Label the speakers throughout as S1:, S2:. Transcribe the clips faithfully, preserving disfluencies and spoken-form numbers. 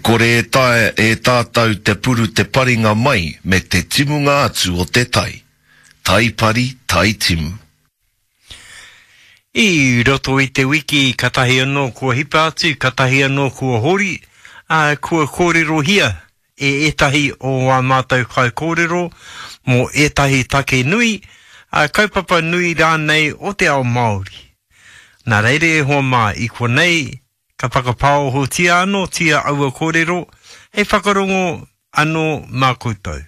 S1: kore e taea e tātou te puru te paringa mai me te timunga atu o te tai. Tai pari, tai timu.
S2: I roto i te wiki katahi anō kua hipa atu, katahi anō kua hori, ā, kua kōrerohia e ētahi o ā mātou kaikōrero mō ētahi take nui, ā, kaupapa nui rānei o te ao Māori. Nā reira e hoa mā, i konei ka whakapāohotia anōtia aua kōrero hei whakarongo anō mā koutou.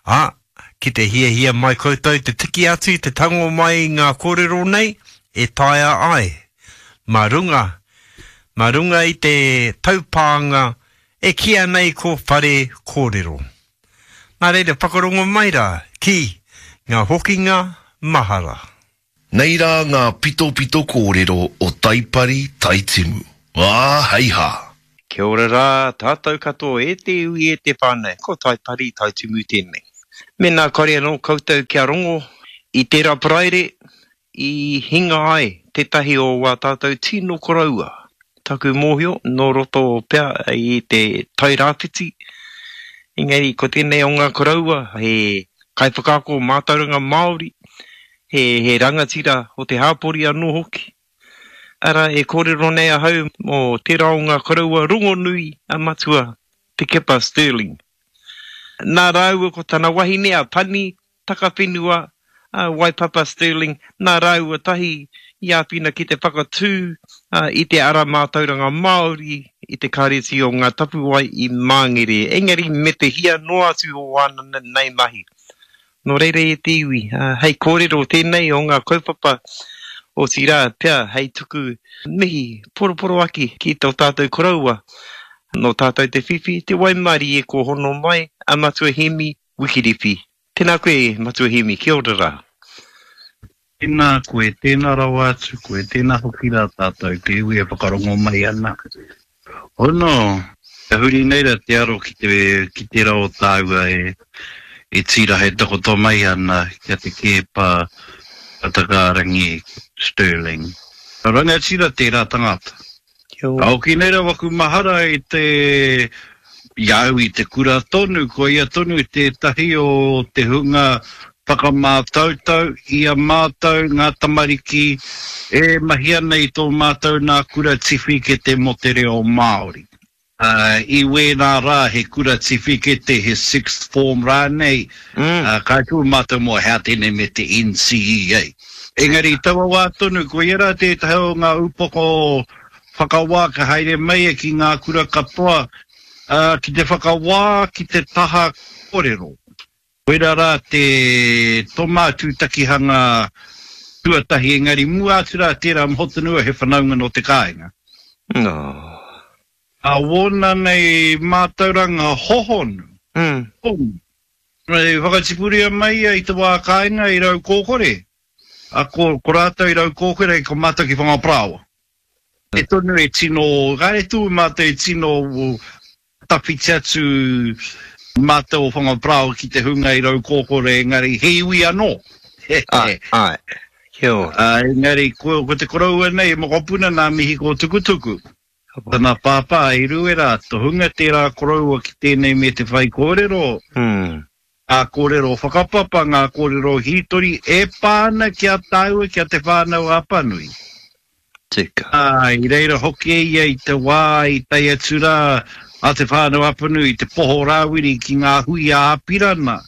S2: Ā, ki te hiahia mai koutou te tiki atu, te tango mai i ngā kōrero nei, e taea ai, mā runga, mā runga i te taupānga e kīia nei ko Whare Kōrero. Nā reira, whakarongo mai rā ki ngā hokinga mahara.
S1: Nei rā ngā pitopito kōrero o Taipari, Taitimu. Ā, hei hā!
S2: Kia ora rā tātou katoa e te iwi e te whānau, ko Taipari, Taitimu tēnei. Mēnā kore anō koutou kia rongo i tērā Paraire i hinga ai tētahi o wā tātou tino koroua, taku mōhio nō roto pea i te Tairāwhiti, engari ko tēnei o ngā koroua he kaiwhakaako mātauranga Māori, he, he rangatira o te hāpori anō hoki. Arā, e kōrero nei ahau mō tērā o ngā koroua rongonui a Matua Te Keepa Stirling. Nā rāua ko tana wahine a Pani Takawhenua a Waipapa Stirling, nā rāua tahi i āwhina ki te whakatū i te ara mātauranga Māori i te Kāreti o Ngā Tapuwae i Māngere, engari me te hia noa atu o āna nei mahi. Nō reira e te iwi, hei kōrero tēnei o ngā kaupapa, otirā pea hei tuku mihi poroporoaki ki tō tātou koroua, nō tātou te whiwhi, te waimarie kua hono mai a Matua Hēmi Wikiriwhi. Tēnā koe Matua Hēmi, kia ora rā.
S3: Tēnā koe, tēnā rawa atu koe, tēnā hoki rā tātou te iwi e whakarongo mai ana. Hono, ka huri nei ra te aro ki te ki tera o tāua e e tīraha e takoto mai ana ki a Te Keepa Matakārangi Stirling. Rangatira tērā tangata.
S2: Kia
S3: Ka
S2: ora.
S3: hoki nei ra waku mahara i te i a au i te kura tonu, ko ia tonu tētahi o te hunga whakamātautau i a mātou ngā tamariki e mahi ana i tō mātou nā kura tiwhikete mō te reo Māori. I wēnā rā he kura tiwhikete, he sixth form rānei, ka tū mātou mō hea tēnei me te N C E A. Engari i taua wā tonu, koia rā tētahi o ngā upoko whakawā ka haere mai ki ngā kura katoa ki te whakawā ki te taha kōrero. Koira rā te toma tūtakihanga tuatahi engari mua atu rā tērā moho tonu he whanaunga nō te kāinga.
S2: No.
S3: A wōna nei mātauranga hohonu,
S2: Mm.
S3: hohonu. I whakatipuria mai ia i te wā kāinga i Raukōkore, a ko, ko rātou i Raukōkore ko mātou ki Whangaparāoa. E tonu e tino, kāre tū mātou e tino tawhiti atu mātou o Whangaparāoa ki te hunga i Raukōkore, engari he iwi anō.
S2: Āe, āe. Kia ora.
S3: Ā, engari ko, ko te koroua nei, mokopuna nā Mihi Kōtukutuku. Tana pāpā i Ruera, tohunga tērā koroua ki tēnei me te whaikōrero.
S2: Mm.
S3: Ngā kōrero whakapapa, ngā kōrero hītori e pā ana ki a tāua, ki a Te Whānau a Apanui.
S2: Tika.
S3: Ā, i reira hoki ia i te wā i tae atu rā a Te Whānau a Apanui i te Poho Rāwiri ki ngā hui a Apirana,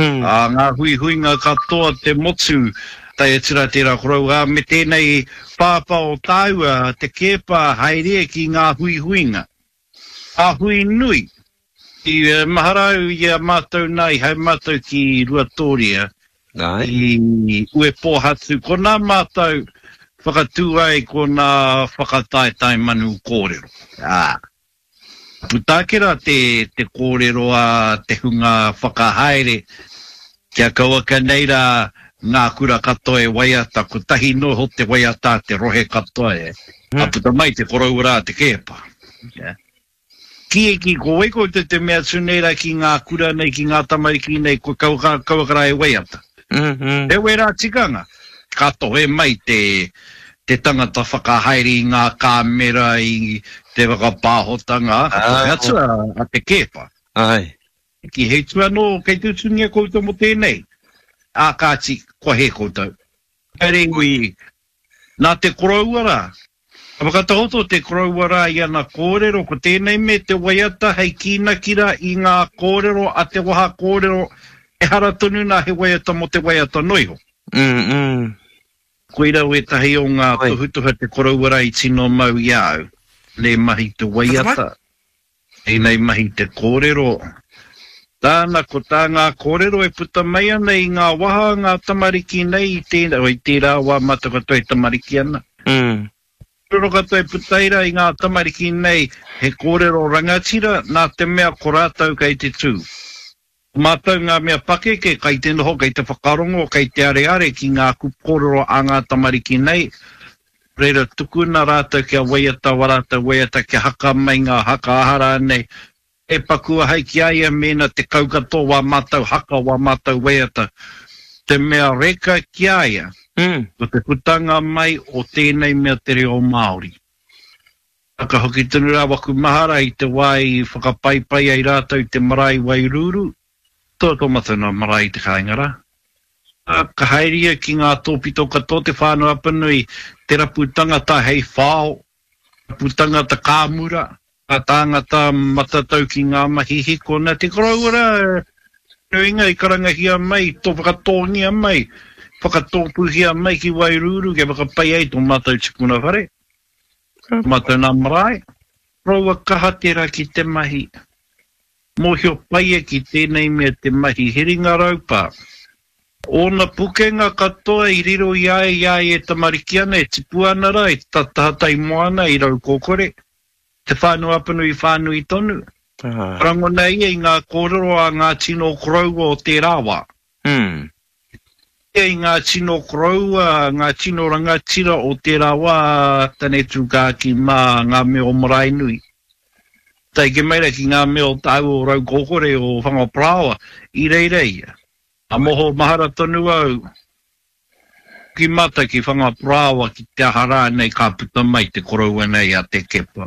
S3: ā, ngā huihuinga katoa te motu, tae atu rā tērā koroua, ā, me tēnei pāpā o tāua, Te Keepa, haere ki ngā huihuinga. Ngā hui nui. I mahara au i a mātou nā, i haere mātou ki Ruatōria, i Uepōhatu, ko nā mātou whakatū ai ko nā whakataetae manu kōrero. Ā, puta ake rā te, te kōrero a te hunga whakahaere, kia kauaka nei rā ngā kura katoa e waiata, kotahi noa iho te waiata a te rohe katoa e, ka puta mai te koroua rā Te Keepa. Ki e ki, ko wai koutou te mea atu nei ra ki ngā kura nei, ki ngā tamariki nei, ko kauaka, kauaka rā e waiata.
S2: Mm -hmm.
S3: He wērā tikanga, ka tohe mai te, te tangata whakahaere i ngā kāmera i te whakapāhotanga, ka tohe atu a, a Te Keepa.
S2: Ai.
S3: Ki he utu anō kei te utungia koutou mō tēnei? Ā, kāti, kua hē koutou. Engari, nā te koroua rā, ka whakatakoto te koroua rā i ana kōrero, ko tēnei me te waiata hei kīnaki rā i ngā kōrero a te waha kōrero, ehara tonu nā he waiata mō te waiata noa iho.
S2: Mm, mm.
S3: Koira wētahi o ngā tohutohu a te koroua rā i tino mau i a au, nei mahi te waiata, tēnei mahi te kōrero. Tāna, ko tā ngā kōrero e puta mai ana i ngā waha a ngā tamariki nei i tēnā, i tērā wā mātou katoa e tamariki ana.
S2: Mm.
S3: Kōrero katoa e puta ai rā i ngā tamariki nei he kōrero rangatira nā te mea ko rātou kei te tū. Ko mātou ngā mea pakeke kei te noho, kei te whakarongo, kei te areare ki ngā kupu kōrero a ngā tamariki nei, reira tukuna rātou kia waiata wā rātou waiata, kia haka mai ngā haka aha rānei, e paku ahau ki a ia mēnā tekau katoa wā mātou haka, wā mātou waiata. Te mea reka ki a ia, ko te putanga mai o tēnei mea te reo Māori. Ka hoki tonu rā waku mahara i te wā i whakapaipai ai rātou i te marae i Wairūrū, tō tō mātou nā marae i te kāinga rā. Ka haere ia ki ngā tōpito katoa o Te Whānau-a-Apanui, te rapu tangata hei whao, rapu tangata kāmura, ngā tāngata matatau ki ngā mahi hiko. Nā te koroua rā, nuinga i karangahia mai, tō whakatōngia mai, whakatōpūhia mai ki Wairūrū kia whakapai ai tō mātou tipuna whare, tō mātou nā marae. Koroua kaha tērā ki te mahi. Mōhio pai ia ki tēnei mea te mahi he ringa raupā. Ōna pukenga katoa i riro i a ia i a ia e tamariki ana, e tipu ana rā, i tahatai moana, i Raukōkore, Te Whānau-a-Apanui whānui tonu. Ka rangona ia i ngā kōrero a ngā tino koroua o tērā wā. Ia i ngā tino koroua, ngā tino rangatira o tērā wā, Tane Tūkākī mā, ngā mea o Maraenui. Taeke mai ra ki ngā mea o tāua o Raukōkore, o Whangaparāoa, i reira ia. A moho mahara tonu au ki mātou ki Whangaparāoa ki te aha rānei ka puta mai te koroua nei a Te Kepa.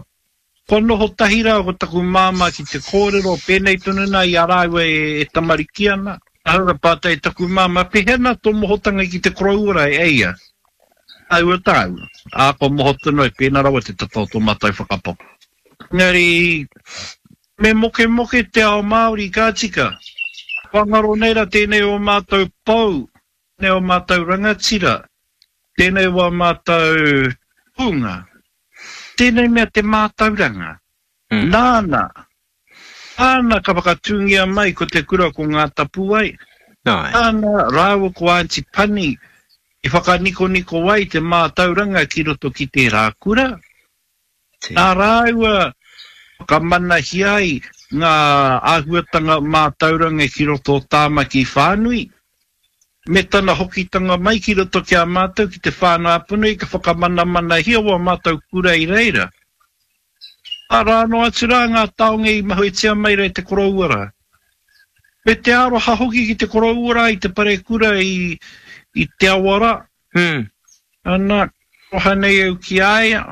S3: Kua noho tahi rā ko taku māmā ki te kōrero pēnei tonu nā i a rāua e tamariki ana. Ahau ka pātai i taku māmā, Pēhea nā tō mohotanga ki te koroua rā e ia? Tāua tāua. Ā, kua moho tonu ai pēnā rawa te tata o tō mātou whakapapa. Engari, me mokemoke te ao Māori, ka tika. Kua ngaro nei ra tēnei o mātou pou, tēnei o mātou rangatira, tēnei wā mātou hunga, tēnei mea te mātauranga. Nāna, nāna ka whakatūngia mai ko te kura ko Ngā Tapuwae, nāna rāua ko Aunty Pani i whakanikoniko ai te mātauranga ki roto ki tērā kura. Nā rāua whakamanahia ai ngā āhuatanga mātauranga ki roto o Tāmaki whānui, me tana hokitanga mai ki roto ki a mātou ki Te Whānau-a-Apanui ka whakamanamanahia wā mātou kura i reira. Arā noa atu rā ngā taonga i mahuetia mai rā e te koroua rā. Me te aroha hoki ki te koroua rā i te parekura i i te awa rā. Ana, aroha nei au ki a ia.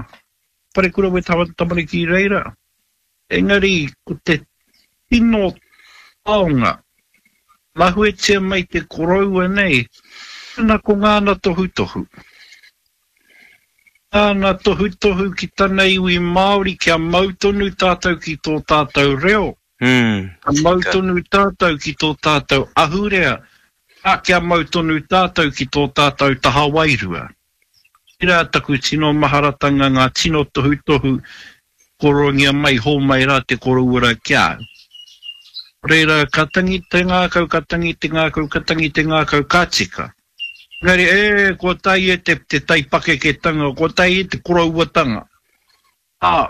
S3: Parekura we tamariki i reira. Engari ko te tino taonga, mahuetia mai te koroua nei, ana ko ngāna tohutohu. Ngāna tohutohu ki tana iwi Māori kia mau tonu tātou ki tō tātou reo, kia mau tonu tātou ki tō tātou ahurea, ā, kia mau tonu tātou ki tō tātou taha wairua. Tērā taku tino maharatanga ngā tino tohutohu koroangia mai hōmai rā te koroua rā ki a au. Reira ka tangi te ngākau, ka tangi te ngākau, ka tangi te ngākau, ka tika. Engari, e, kua tae e te, te taipakeketanga, kua tae e te korouatanga. Ā,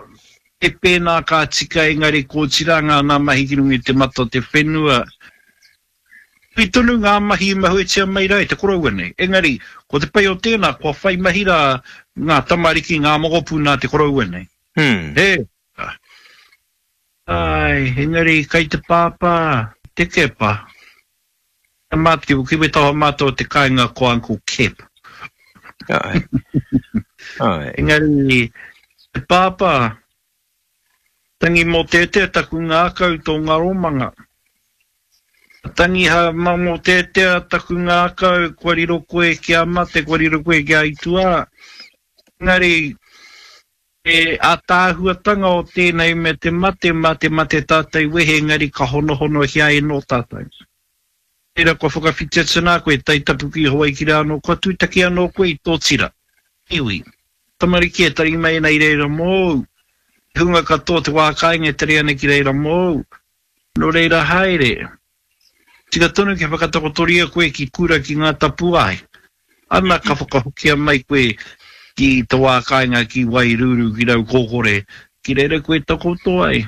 S3: e pēnā ka tika engari kua otirā ngā nā mahi ki runga i te mata o te whenua. Nui tonu ngā mahi i mahuetia mai rā e te koroua nei. Engari, ko te pai o tēnā, kua whai mahi rā ngā tamariki, ngā mokopuna a te koroua nei. He. Āe, engari kai te pāpā, te Kepa. Ki wetaha mātou o te kāinga ko Uncle Kep.
S2: Āe. Ai.
S3: Engari, te pāpā, tangi mō tētea taku ngākau tō ngaromanga. Tangi ha mō tētea taku ngākau, kua riro koe kia mate, kua riro koe kia aituā. Engari, e ātaahuatanga o tēnei me te mate, mā te mate tātou wehe, engari ka honohono hia e nō tātou. Tērā kua whakawhiti atu nā koe, tai tapu ki Hawaiki rā anō, kua tūtaki anō koe i tō tira. Iwi. Tamariki e tari mai ana i reira mōu. Te hunga katoa te wā kāinga e tari ana ki reira mōu. Nō reira haere. Tika tonu kia whakatakotoria koe ki kura ki ngā tapuae. Ana ka whakahokia mai koe ki te wā kāinga ki Wairuru, ki Raukōkore, ki reira koe takoto ai.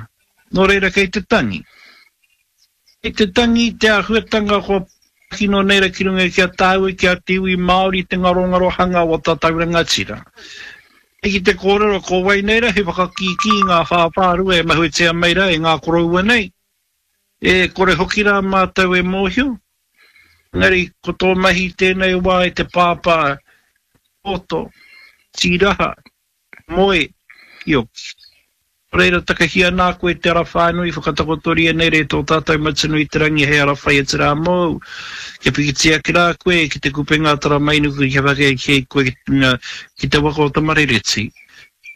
S3: Nō reira kei te tangi. Kei te tangi te āhuatanga kua kino nei ra ki runga ki a tāua, ki a te iwi Māori te ngarongarohanga o tātou rangatira. E ki te kōrero ko wai nei ra he whakakīkī ngā whāwhārua e mahuetia mai ra e ngā koroua nei. E kore hoki rā mātou e mōhio. Engari ko tō mahi tēnei wā e te pāpā, poto, tīraha, moe, kioki. Reira takahia nā koe te ara whānui whakatakotoria nei re tō tātou Matua i te rangi hei ara whai atu rā mōu. Kia pikitia ake rā koe ki te kupenga Taramainuku kia whakahē koe ki te waka o Tamarereti.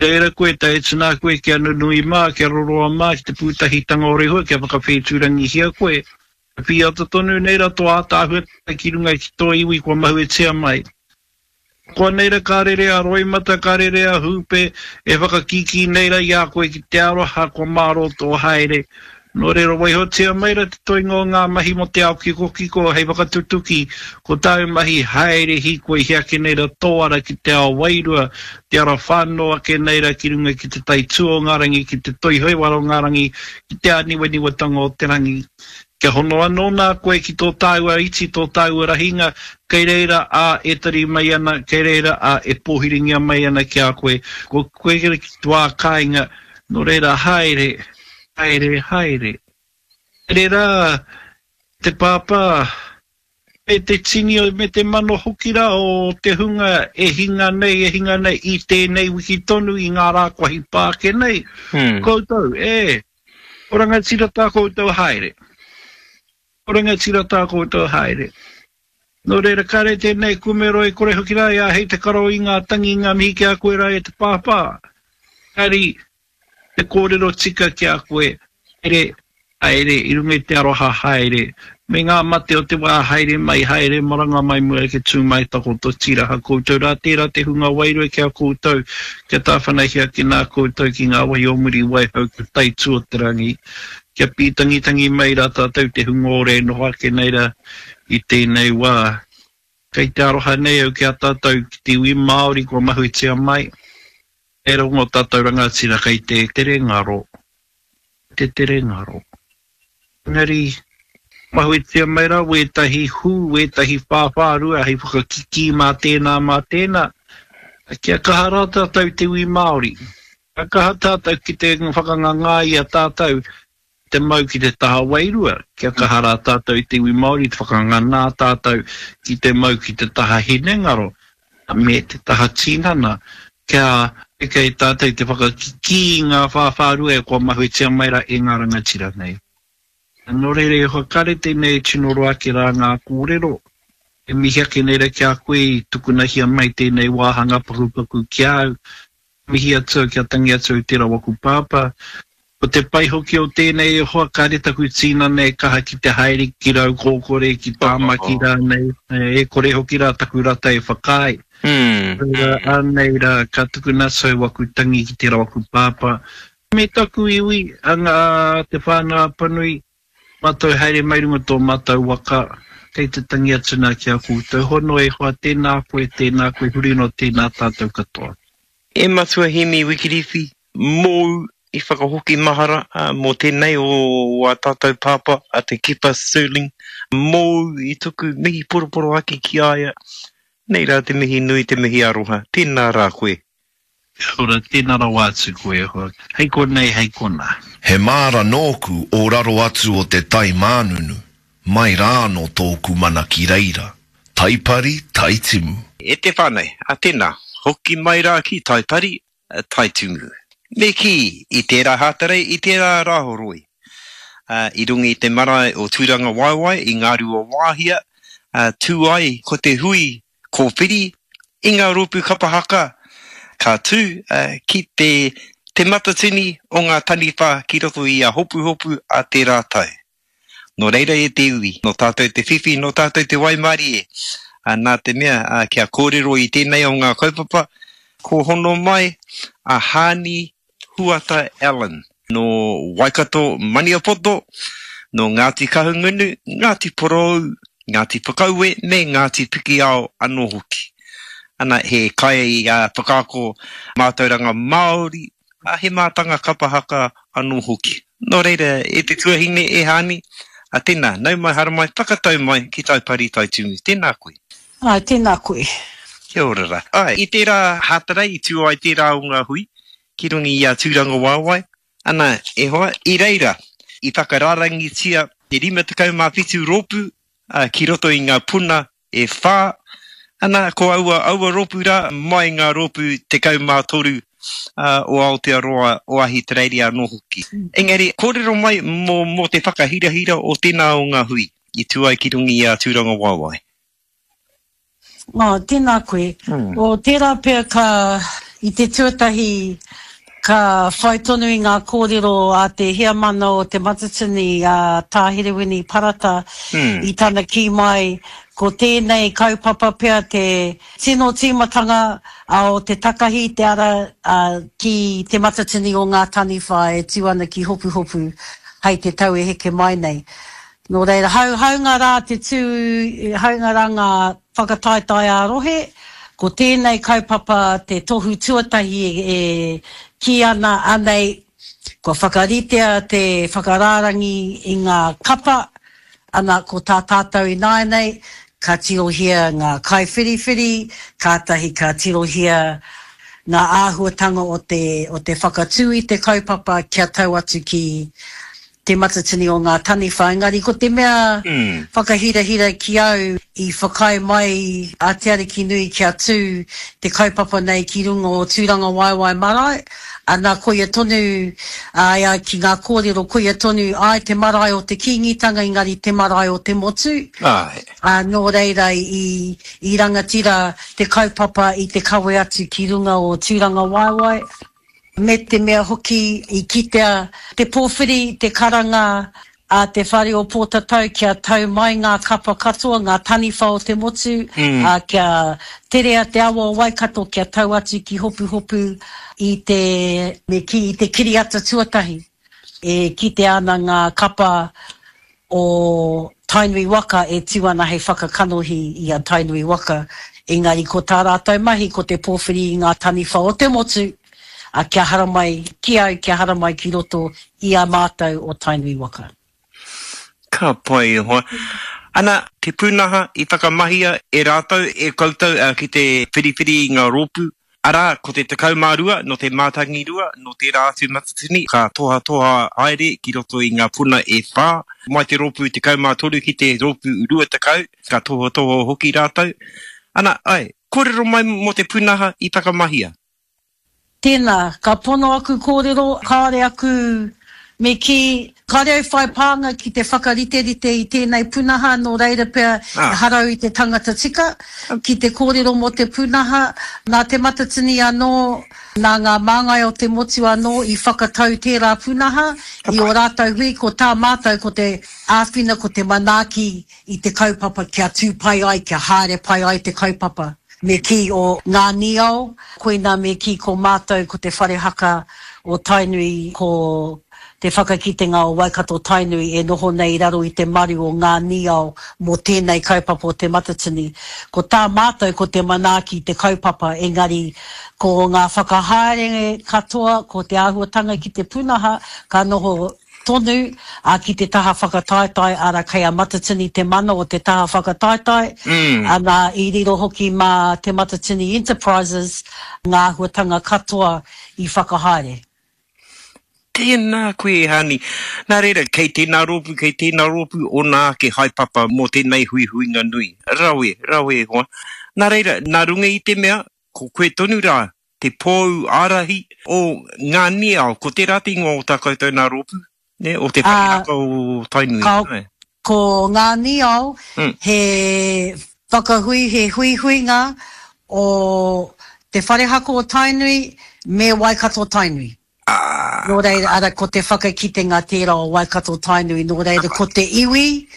S3: Reira koe tae atu nā koe kia nunui mā, kia roroa mā ki te pūtahitanga o Rehua kia whakawhētūrangihia koe. Pīata tonu nei rā tō ātaahua ki runga ki tō iwi kua mahuetia mai. Koa nei ra ka rere a Roimata, ka rere a Hupe, e whakakīkī nei ra i a koe ki te aroha kua mārō tō haere. Nō reira waihotia mai ra te toinga o ngā mahi mō te ao kikokiko hei whakatutuki, ko tāu mahi haere hīkoi hia ake nei ra tō ara ki te ao wairua, te ara whāno ake nei ra ki runga ki te tai tū o ngā rangi, ki te toihauara o ngā rangi, ki te āniwaniwatanga o te rangi. Kia hono anō nā koe ki tō tāua iti, tō tāua rahinga, kei reira a e tari mai ana, kei reira a e pōhiringia mai ana ki a koe. Ko koe ki te wā kāinga, nō reira haere, haere, haere. Haere rā te pāpā, me te tini me te mano hoki rā o te hunga e hinga nei, e hinga nei i tēnei wiki tonu i ngā rā kua hipa ake nei.
S2: Hmm.
S3: Koutou, e, o rangatira tā koutou haere. O rangatira tā koutou haere. Nō reira kare tēnei kumero e kore hoki rā i a hei te karo i ngā tangi ngā mihi ki a koe rā e te pāpā. Kari, te kōrero tika ki a koe, haere, haere, i runga i te aroha haere, me ngā mate o te wā haere mai, haere maranga mai mua ke tū mai takoto tīraha koutou rā, tērā te hunga wairua ki a koutou, kia tāwhanahia ki nā koutou ki ngā wahi o muri waihau ki tai tū o te rangi, kia pītangitangi mai rā tātou te hunga ore noho ake nei rā i tēnei wā. Kei te aroha nei au ki a tātou ki te iwi Māori kua mahuetia mai, e rongo tātou rangatira kei te tere ngaro, te tere ngaro. Engari, mahuetia mai rā wētahi hū, wētahi whāwhārua hei whakakikī mā tēnā mā tēnā, kia kaha rā tātou te iwi Māori. Kia kaha tātou ki te whakangangā i a tātou te mau ki te taha wairua, kia kaha rā tātou i te iwi Māori, te whakanganā tātou ki te mau ki te taha hinengaro, me te taha tinana, kia kei tātou te whakakikī ngā whāwhārua e kua mahuetia mai rā e ngā rangatira nei. Nō reira e whakare tēnei tino roa ake rā ngā kōrero, e mihi ake nei rā ki a koe i tukunahia mai tēnei wāhanga pakupaku ki au, mihi atu kia tangi atu i tērā waku pāpā. Ko te pai hoki o tēnei e hoa kare taku tīnana e kaha ki te haere ki Raukōkore, ki Tāmaki rānei, e kore hoki rā taku rata e whakaae.
S2: Mm.
S3: Reira, anei rā, ka tukuna atu waku tangi ki tērā waku pāpā. Me taku iwi, anga te whānau Apanui, mātou haere mai runga tō mātou waka, kei te tangi atu nā ki a koutou. Hono e hoa, tēnā koe, tēnā koe, huri no tēnā tātou katoa.
S2: E Matua Hemi Wikiriwhi, mōu i whakahoki mahara mō tēnei o a tātou pāpā a te Kepa Stirling, mōu i tuku mihi poroporo ake ki a ia. Nei rā te mihi nui, te mihi aroha. Tēnā rā koe.
S3: Kia ora, tēnā rawa atu koe e hoa. Hei konei, hei kona.
S1: He māra nōku o raro atu o te tai mānunu, mai rā anō tōku mana ki reira. Taipari, taitimu.
S2: E te whānau, a tēnā, Hoki mai rā ki Taipari, Taitumu. Me kī, i tērā Hātarei, i tērā Rāhoroi. Uh, i runga i te marae o Tūrangawaewae, i Ngāruawāhia, uh, tū ai ko te hui kōwhiri i ngā rōpū kapa haka, ka tū uh, ki te, te matatini o ngā taniwha ki roto i a Hopuhopu a tērā tau. Nō reira e te iwi, nō tātou te whiwhi, nō tātou te waimarie. Uh, nā te mea, uh, kia kōrero i tēnei o ngā kaupapa, ko hono mai a Hani Huata Allen, nō Waikato Maniapoto, nō Ngāti Kahungunu, Ngāti Porou, Ngāti Whakaue me Ngāti Pikiao anō hoki. Ana, he kai uh, whakaako mātauranga Māori, a he mātanga kapa haka anō hoki. Nō reira, e te tuahine, e Hani, a tēnā, nau mai haramai, whakatau mai ki Taipari Taitumu. Tēnā koe.
S4: Ai, tēnā koe.
S2: Kia ora rā. Ai, i tērā Hātarei, i tū ai tērā o ngā hui, ki runga i a Tūrangawaewae. Ana, e hoa, i reira, i whakararangitia te rima tekau mā whitu rōpū, uh, ki roto i ngā puna e whā. Ana, ko aua, aua rōpū rā, mai ngā rōpū tekau mā toru uh, o Aotearoa, o Ahitereiria anō hoki. Engari, kōrero mai mō, mō te whakahirahira o tēnā o ngā hui, i tū ai ki runga i a Tūrangawaewae.
S4: Oh, tēnā koe.
S2: Mm.
S4: O, tērā pea ka, i te tuatahi, ka whai tonu i ngā kōrero a te heamana o te Matatini, a Tā Herewini Parata,
S2: Mm.
S4: i tana kī mai, ko tēnei kaupapa pea te tino tīmatanga a o te takahi te ara a, ki te Matatini o ngā taniwha e tū ana ki Hopuhopu hei te tau e heke mai nei. Nō reira, hau, haunga rā te tū, haunga rā ngā whakataetae ā rohe, ko tēnei kaupapa te tohu tuatahi e, e kī ana anei, kua whakaritea te whakarārangi i ngā kapa, ana ko tā tātou ināianei, ka tirohia ngā kaiwhiriwhiri, kātahi ka tirohia ngā āhuatanga o te, o te whakatū i te kaupapa kia tau atu ki te Matatini o ngā taniwha. Engari ko te mea
S2: Mm.
S4: whakahirahira ki au i whakaae mai a Te Arikinui kia tū te kaupapa nei ki runga o Tūrangawaewae marae. Ana koia tonu, ai, ai, ki ngā kōrero, koia tonu ai te marae o te Kīngitanga, engari te marae o te motu.
S2: Ai.
S4: Ā, nō reira i, i rangatira te kaupapa i te kawe atu ki runga o Tūrangawaewae. Me te mea hoki i kitea te pōwhiri, te karanga a te whare o Pōtatau kia tau mai ngā kapa katoa, ngā taniwha o te motu,
S2: Mm.
S4: ā, kia terea te awa o Waikato kia tau atu ki Hopuhopu i te, me kī, i te kiriata tuatahi. E kitea ana ngā kapa o Tainui Waka e tū ana hei whakakanohi i a Tainui Waka. Engari ko tā rātou mahi ko te pōwhiri i ngā taniwha o te motu, a kia haramai ki au, kia haramai ki roto i a mātou o Tainui Waka.
S2: Ka pai e hoa. Ana, te pūnaha i whakamahia e rātou, e koutou, uh, ki te whiriwhiri i ngā rōpū. Arā, ko te tekau mā rua, nō te mātangi rua, nō tērā atu matatini, ka tohatoha haere ki roto i ngā puna e whā. Mai te rōpū tekau mā toru ki te rōpū rua tekau, ka tohatoha hoki rātou. Ana, ai, kōrero mai mō te pūnaha i whakamahia.
S4: Tēnā, ka pono aku kōrero, kāore aku me kī, kāore au whai pānga ki te whakariterite i tēnei pūnaha, nō reira pea
S2: Ah.
S4: ehara au i te tangata tika ki te kōrero mō te pūnaha, nā te Matatini anō, nā ngā māngai o te motu anō i whakatau tērā pūnaha, i o rātou hui, ko tā mātou ko te āwhina, ko te manaaki i te kaupapa kia tū pai ai, kia haere pai ai te kaupapa. Me kī o ngā niao, koina me kī ko mātou ko te whare haka o Tainui, ko te whakakitenga o Waikato Tainui e noho nei i raro i te maru o ngā niao mō tēnei kaupapa o te Matatini. Ko tā mātou ko te manaaki te kaupapa, engari ko ngā whakahaere katoa, ko te āhuatanga ki te pūnaha, ka noho tonu, a ki te taha whakataetae, ara kei a Matatini te mana o te taha whakataetae,
S2: Mm.
S4: ana i riro hoki mā te Matatini Enterprises ngā āhuatanga katoa i whakahaere.
S2: Tēnā koe, Hani. Nā reira, kei tēnā rōpū, kei tēnā rōpū, ōna ake haepapa mō tēnei huihuinga nui. Rawe, rawe e hoa. Nā reira, nā runga i te mea, ko koe tonu rā te pou ārahi o Ngā Niao, ko tērā te ingoa o tā koutou nā rōpū, nē, o te whare haka o Tainui.
S4: Ka, ko Ngā Niao he whakahui, he huihuinga o te whare haka o Tainui me Waikato Tainui. Nō reira, ara, ko te whakakitenga tērā o Waikato Tainui, nō reira, ko te iwi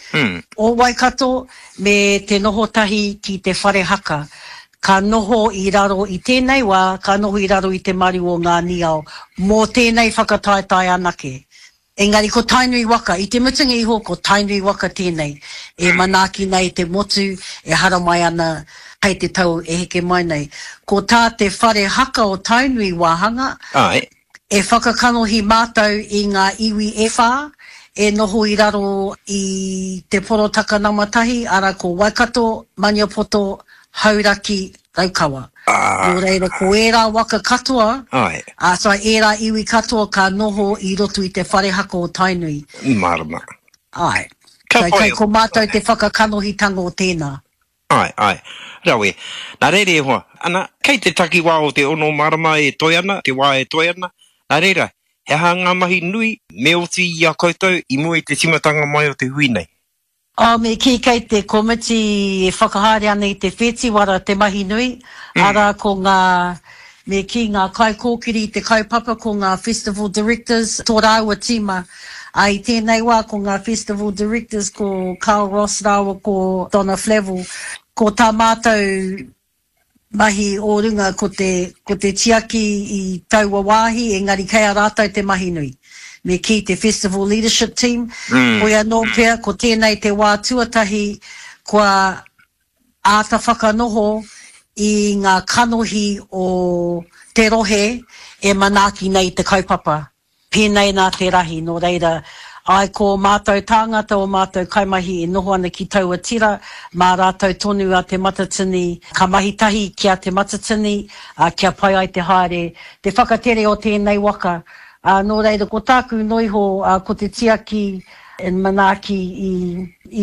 S4: o Waikato me te noho tahi ki te whare haka, ka noho i raro i tēnei wā, ka noho i raro i te maru o ngā niao, mō tēnei whakataetae anake. Engari ko Tainui waka, i te mutunga iho ko Tainui waka tēnei e manaaki nei te motu e haramai ana hei te tau e heke mai nei. Ko tā te whare haka o Tainui wāhanga, e whakakanohi mātou i ngā iwi e whā e noho i raro i te porotaka nama tahi, arā ko Waikato, Maniapoto, Hauraki, Raukawa. Nō reira, ko ērā waka katoa, ā, sorry, ērā iwi katoa ka noho i roto i te whare haka o Tainui.
S2: Mārama.
S4: Āe.
S2: Ka
S4: So,
S2: pai.
S4: kei ko mātou te whakakanohitanga o tēnā.
S2: Āe, āe. Rawe. Nā reira e hoa, ana, kei te takiwā o te ono marama e toe ana, te wā e toe ana. Nā reira, he aha ngā mahi nui me oti i a koutou i mua i te tīmatanga mai o te hui nei?
S4: Oh, me kī kei te komiti e whakahaere ana i te whetiwara te mahi nui, arā ko ngā, me kī ngā kaikōkiri i te kaupapa, ko ngā festival directors, tō rāua tīma. Ā, i tēnei wā ko ngā festival directors ko Carl Ross rāua ko Donna Flavell. Ko tā mātou mahi o runga ko te, ko te tiaki i taua wāhi, engari kei a rātou te mahi nui. Me kī te Festival Leadership Team, hoi anō pea ko tēnei te wā tuatahi kua āta whakanoho i ngā kanohi o te rohe e manaaki nei te kaupapa. Pēnei nā te rahi, nō reira, āe ko ō mātou tāngata, ō mātou kaimahi e noho ana ki taua tira, mā rātou tonu a Te Matatini, ka mahi tahi ki a Te Matatini, ā, kia pai ai te haere, te whakatere o tēnei waka. Ā, nō reira, ko tāku noiho, ā, ko te tiaki and manaaki i,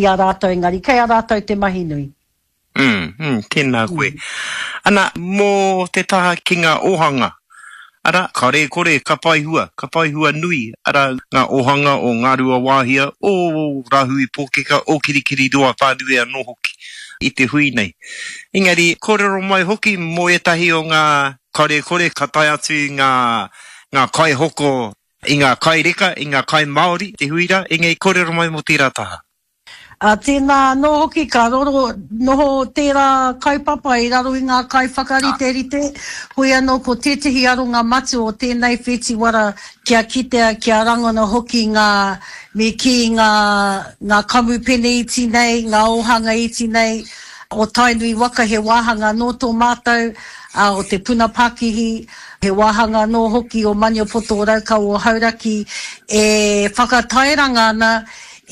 S4: i a rātou, engari kei a rātou te mahi nui.
S2: Mm, mm, tēnā koe. Ana, mō te taha ki ngā ōhanga, arā, kāore e kore ka whai hua, ka whai hua nui, arā, ngā ōhanga o Ngāruawāhia, o Rāhui Pōkeka, o Kirikiriroa whānui anō hoki i te hui nei. Engari, kōrero mai hoki mō ētahi o ngā, kāore e kore ka tae atu ngā, ngā kaihoko i ngā kai reka, i ngā kai Māori, te hui rā, engari kōrero mai mō tērā taha.
S4: Ā, tēnā anō hoki ka roro, noho tērā kaupapa i raro i ngā kaiwhakariterite, hoi anō ko tētehi aronga matua o tēnei whetiwara kia kitea, kia rangona hoki ngā, me kī, ngā, ngā kamupene iti nei, ngā ōhanga iti nei o Tainui waka he wāhanga anō tō mātou, ā, o Te Puna Pakihi, he wāhanga anō hoki o Maniapoto, o Raukawa, o Hauraki e whakatairanga ana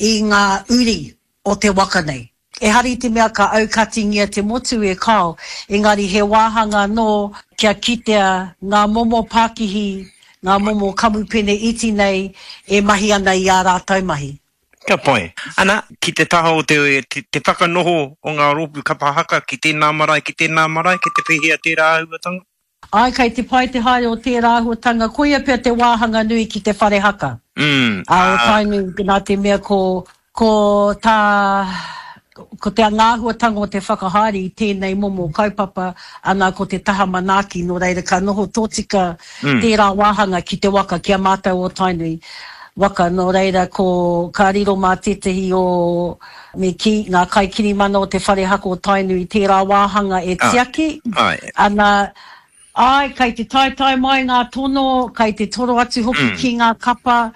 S4: i ngā uri o te waka nei. Ehara i te mea ka aukatingia te motu e kāo, engari he wāhanga anō kia kitea ngā momo pakihi, ngā momo kamupene iti nei e mahi ana i ā rātou mahi.
S2: Ka pai. Ana, ki te taha o te, te whakanoho o ngā rōpū kapa haka ki tēnā marae, ki tēnā marae, kei te pēhea tērā āhuatanga?
S4: Āe, kei te pai te haere o tērā āhuatanga, koia pea te wāhanga nui ki te whare haka.
S2: Mm,
S4: Ā, o
S2: ā.
S4: Tainui, nā te mea ko, ko tā, ko te āhuatanga o te whakahaere i tēnei momo kaupapa, ana ko te taha manaaki, nō reira ka noho tōtika
S2: Mm.
S4: tērā wāhanga ki te waka, ki a mātou o Tainui waka, nō reira ko, ka riro mā tētehi o, me kī, ngā kaikirimana o te whare haka o Tainui tērā wāhanga e
S2: Āe,
S4: tiaki,
S2: āe.
S4: ana, Āe, kei te taetae mai ngā tono, kei te toro atu hoki ki ngā kapa.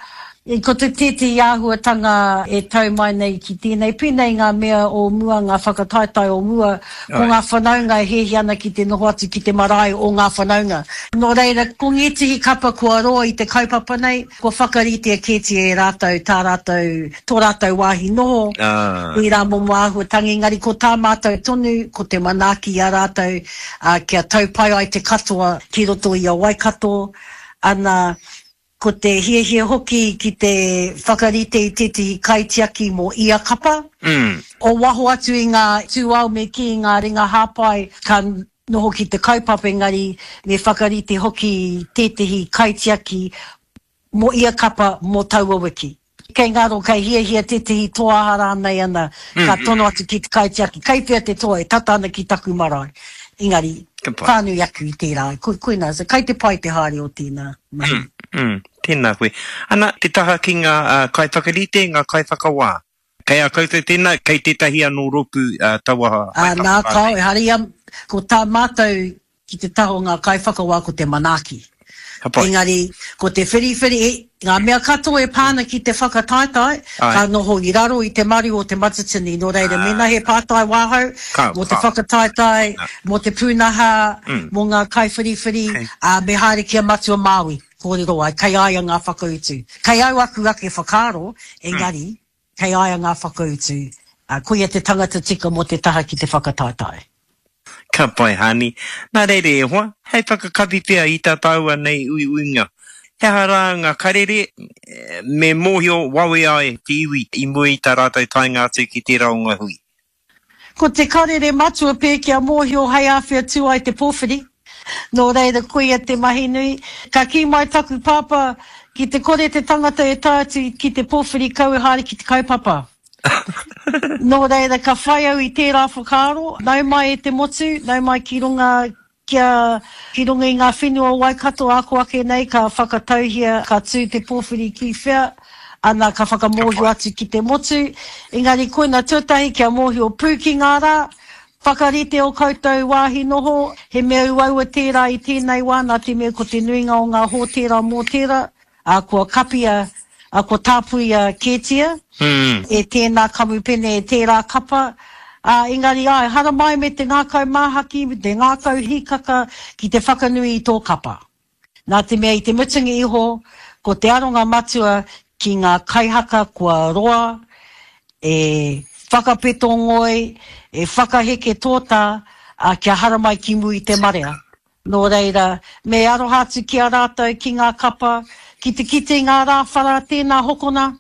S4: Ko te tētehi āhuatanga e tau mai nei ki tēnei, pēnei ngā mea o mua, ngā whakataetae o mua, ko ngā whanaunga e hiahia ana ki te noho atu ki te marae o ngā whanaunga. Nō reira, ko ngētehi kapa kua roa i te kaupapa nei, kua whakaritea kētia e rātou tā rātou, tō rātou wāhi noho, ērā momo āhuatanga, engari ko tā mātou tonu, ko te manaaki i a rātou, ā, kia tau pai ai te katoa ki roto i a Waikato, ana, ko te hiahia hoki ki te whakarite i tētehi kaitiaki mō ia kapa, o waho atu i ngā tūao me kī, ngā ringa hāpai ka noho ki te kaupapa engari me whakarite hoki tētehi kaitiaki mō ia kapa mō taua wiki. Kei ngaro, kei hiahia tētehi toa aha rānei ana, ka tono atu ki te kaitiaki, kei whea te toa e tata ana ki taku marae. Engari, whānui aku i tērā, koinā, so kei te pai te haere o tēnā mahi.
S2: Mm, mm, tēnā koe. Ana, te taha ki ngā uh, kaiwhakarite, ngā kaiwhakawā. Kei a koutou tēnā, kei tētahi anō rōpū uh, taua
S4: uh, nā, kao, ehara ia, ko tā mātou ki te taha o ngā kaiwhakawā ko te manaaki. Engari, ko te whiriwhiri, ngā mea katoa e pā ana ki te whakataetae, ka noho i raro i te maru o Te Matatini. Nō reira, mēnā he pātai wāhau mō te whakataetae, mō te pūnaha, mō ngā kaiwhiriwhiri, ā, me haere ki a Matua Māui, kōrero ai, kei a ia ngā whakautu. Kei au aku ake whakaaro, engari, kei a ia ngā whakautu, ā, koia te tangata tika mō te taha ki te whakataetae.
S2: Ka pai, Hani. Nā reira e hoa, hei whakakapi pea i tā tāua nei uiuinga. He aha rā ngā karere me mōhio wawe ai te iwi i mua i tā rātou taenga atu ki tērā o ngā hui?
S4: Ko te karere matua pē kia mōhio hei āwhea tū ai te pōwhiri. Nō reira koia te mahi nui. Ka kī mai taku pāpā, ki te kore te tangata e tae atu ki te pōwhiri kau e haere ki te kaupapa. Nō reira, ka whai au i tērā whakaaro, nau mai e te motu, nau mai ki runga kia, ki runga i ngā whenua o Waikato ako ake nei ka whakatauhia ka tū te pōwhiri ki whea, ana ka whakamōhio atu ki te motu. Engari koina tuatahi kia mōhio pū ki ngā rā, whakarite o koutou wāhi noho, he mea uaua tērā i tēnei wā nā te mea ko te nuinga o ngā hōtēra mōtēra, ā, kua kapia, ā, kua tāpuia kētia e tēnā kamupene, e tērā kapa, ā, engari āe, haramai me te ngākau māhaki, me te ngākau hīkaka ki te whakanui i tō kapa. Nā te mea i te mutunga iho, ko te aronga matua ki ngā kaihaka kua roa e whakapeto ngoi, e whakaheke tōtā, ā, kia haramai ki mua i te marea. Nō reira, me aroha atu ki a rātou, ki ngā kapa, ki te kite i ngā rāwhara, tēnā hokona,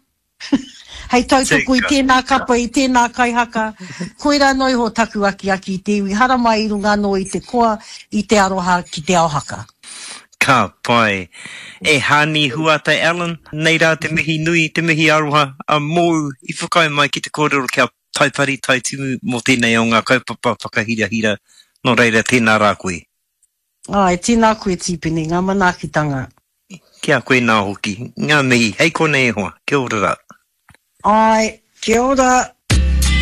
S4: hei tautoko i tēnā kapa, i tēnā kaihaka. Koirā noa iho taku akiaki i te iwi haramai i runga anō i te koa, i te aroha ki te ao haka.
S2: Ka pai. E Hani Huata Allen, nei rā te mihi nui, te mihi aroha a mōu i whakaae mai ki te kōrero kia Taipari Taitimu mō tēnei o ngā kaupapa whakahirahira, nō reira tēnā rā koe.
S4: Āe, tēnā koe Tīpene, ngā manaakitanga.
S2: Ki a koe nā hoki, ngā mihi, hei konei e hoa, kia ora rā.
S4: Āe, kia ora.